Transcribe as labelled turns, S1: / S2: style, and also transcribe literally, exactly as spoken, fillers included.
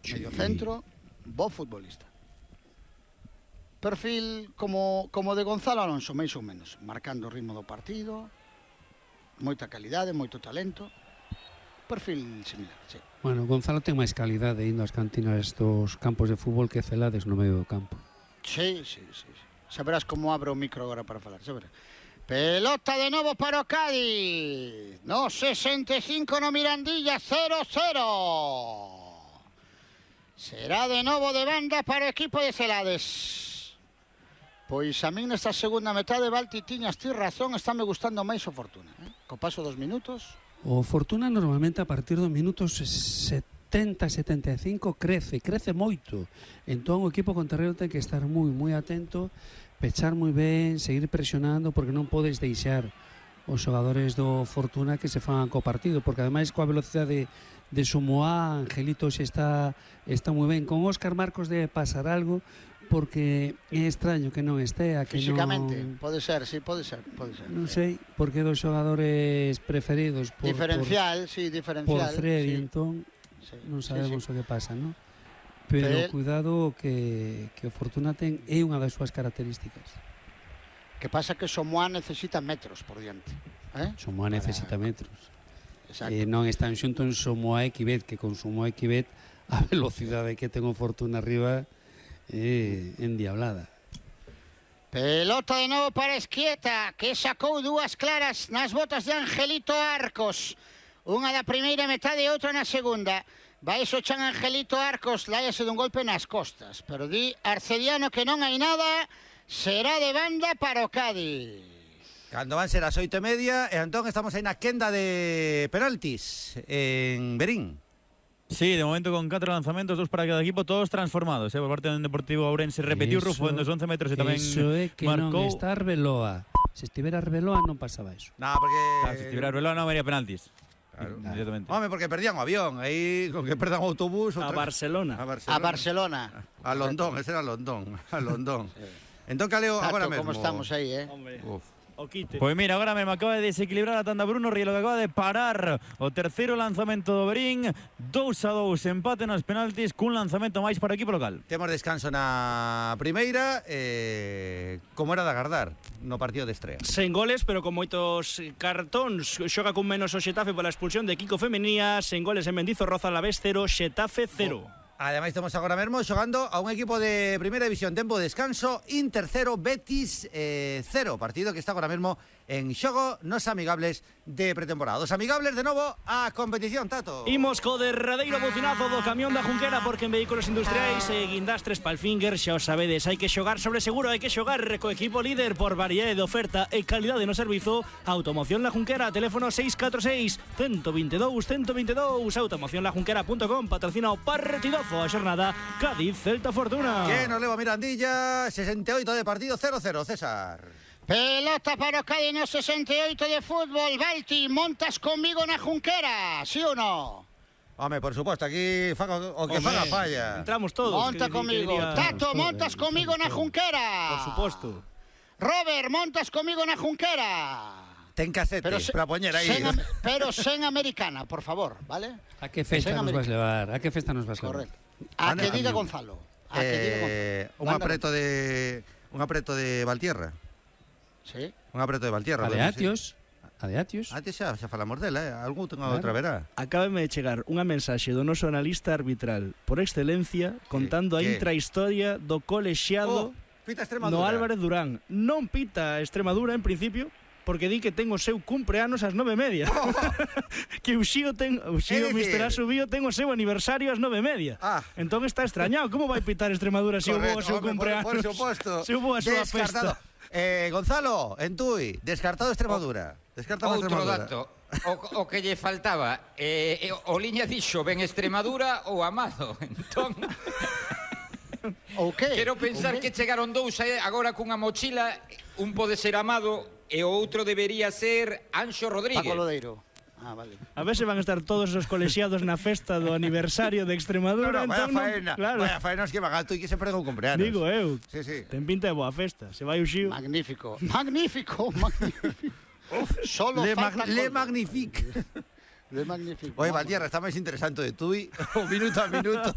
S1: medio centro, bo futbolista. Perfil como, como de Gonzalo Alonso, máis ou menos, marcando o ritmo do partido, moita calidade, moito talento, perfil similar, sí.
S2: Bueno, Gonzalo ten máis calidade indo ás cantinas dos campos de fútbol que Celades no medio do campo.
S1: Sí, sí, sí, sí. Saberás como abro o micro agora para falar, saberás. Pelota de novo para o Cádiz, no sesenta e cinco no Mirandilla, cero cero. Será de novo de banda para o equipo de Celades. Pois a min nesta segunda metade, Balti, tiñas ti razón, estáme gustando máis o Fortuna, eh? Co paso dos minutos.
S2: O Fortuna normalmente a partir dos minutos setenta, setenta e cinco crece, crece moito. Entón o equipo contrario ten que estar moi, moi atento, pechar moi ben, seguir presionando, porque non podes deixar os xogadores do Fortuna que se fan co partido, porque ademais coa velocidade de Somoá, Angelito xe está, está moi ben. Con Óscar Marcos debe pasar algo, porque é extraño que non estea, que
S1: físicamente,
S2: non...
S1: pode ser, sí, pode ser, pode ser.
S2: Non sei, porque dos xogadores preferidos por,
S1: diferencial,
S2: por,
S1: sí, diferencial.
S2: Por Freddy,
S1: sí.
S2: Entón,
S1: sí,
S2: non sabemos
S1: sí, sí.
S2: o que pasa, non? Pero, Pero cuidado que, que o Fortuna ten é unha das súas características.
S1: Que pasa que Somoá necesita metros por diante, eh?
S2: Somoá Para... necesita metros.
S1: Exacto.
S2: Eh, non están xuntos Somoá e Quibet, que con Somoá e Quibet a velocidade que ten o Fortuna arriba é endiablada.
S1: Pelota de novo para Esquieta, que sacou dúas claras nas botas de Angelito Arcos. Unha da primeira metade e outra na segunda. Vai so chan Angelito Arcos, láiase dun golpe nas costas. Pero di Arcediano que non hai nada, será de banda para o Cádiz.
S3: Cando van ser as oito e media, e entón estamos aí na quenda de penaltis en Verín.
S4: Sí, de momento con catro lanzamentos, dos para cada equipo, todos transformados, eh, por parte do Deportivo Ourense. Repetiu eso, Rufo en dos once metros e tamén
S2: eso é que
S4: marcou.
S2: Non está Arbeloa. Se estivera Arbeloa non pasaba eso.
S3: No, porque...
S4: Claro, se estivera Arbeloa non habería penaltis.
S3: Claro.
S4: Claro.
S3: Home, porque perdían o avión, aí con que perdan o autobús...
S5: A Barcelona.
S3: A Barcelona.
S1: A Barcelona.
S3: A Londón, ese era Londón. A Londón. Sí. Entón, caleo, agora mesmo.
S1: Como estamos aí, eh?
S5: Hombre.
S3: Uf.
S5: O quite.
S4: Pois mira, agora mesmo acaba de desequilibrar a tanda Bruno Rielo, que acaba de parar o terceiro lanzamento do Verín. dous a dous, empate nos penaltis, cun lanzamento máis para o equipo local.
S3: Temos descanso na primeira, eh, como era de agardar no partido de estrea.
S5: Sen goles, pero con moitos cartóns. Xoga con menos o Xetafe pola expulsión de Kiko Femenía. Sen goles en Mendizorroza, Alavés cero, Xetafe cero.
S3: Oh. Ademais, estamos agora mesmo xogando a un equipo de primeira división, tempo de descanso, Inter cero, Betis eh, cero, partido que está agora mesmo en xogo nos amigables de pretemporada. Os amigables de novo a competición, Tato.
S5: Imos co derradeiro bocinazo do camión da Junquera, porque en vehículos industriais e guindastres Palfinger, xa os sabedes, hai que xogar sobre seguro, hai que xogar co equipo líder por variedade de oferta e calidade no servizo. Automoción La Junquera, teléfono seis catro seis, uno dos dous, uno dos dous, automoción la junquera punto com, patrocina o partidazo a xornada Cádiz Celta Fortuna.
S3: Que nos leva Mirandilla, sesenta e oito de partido, cero cero, César.
S1: Pelota para o Cádiz no sesenta e oito de fútbol. Balti, montas conmigo na Junquera, sí ou non?
S3: Home, por suposto, aquí faga o que faga falla.
S5: Entramos todos.
S1: Monta
S5: que,
S1: comigo.
S5: que
S1: Tato, montas comigo na Junquera.
S5: Por suposto.
S1: Robert, montas comigo na Junquera.
S3: Ten casete pero se, para poñer aí.
S1: Sen, pero sen americana, por favor, vale?
S2: A que festa nos vas levar? A que festa nos vas levar?
S1: Correcto. A que diga Gonzalo. A que diga
S3: Gonzalo. Un apreto de un apreto de Valtierra.
S1: Sí.
S3: Un apreto de Valtierra.
S2: A de Atios. A de Atios.
S3: Antes xa, xa falamos dela, eh? Algún tengo claro. Outra verá.
S5: Acábame de chegar unha mensaxe do noso analista arbitral por excelencia contando a intrahistoria do colexiado
S3: oh, pita Extremadura.
S5: No Álvarez Durán. Non pita Extremadura en principio, porque di que ten o seu cumpleanos ás nove e media. Oh. Que o Xío ten, o Xío mister Asubío ten o seu aniversario ás nove e media.
S3: Ah.
S5: Entón está extrañado. Como vai pitar Extremadura se hubo o seu cumpleanos?
S3: Por, por suposto.
S5: Se hubo a súa festa.
S3: Eh, Gonzalo, en Tui, descartado Extremadura. Descartado
S6: Outro
S3: Extremadura.
S6: dato. O, o que lle faltaba, eh, o liña dixo ben Extremadura ou Amado. Entón...
S1: Okay.
S6: Quero pensar okay. que chegaron dous agora cunha mochila. Un pode ser Amado e o outro debería ser Anxo Rodríguez.
S1: Paco Lodeiro. Ah, vale.
S5: A ver se van a estar todos os colexiados na festa do aniversario de Extremadura.
S3: No, no, vaya
S5: entón,
S3: faena,
S5: claro.
S3: vaya faena que van alto e que se perdeu o cumpleanos.
S5: Digo eu,
S3: sí, sí.
S5: ten pinta de boa festa. Se vai o Xío.
S1: Magnífico, magnífico, magnífico. Uf, solo
S3: le,
S1: falta
S3: mag le magnifique.
S1: Le magnifique.
S3: Oye, Valtierra, está máis interesante de Tui, o minuto a minuto.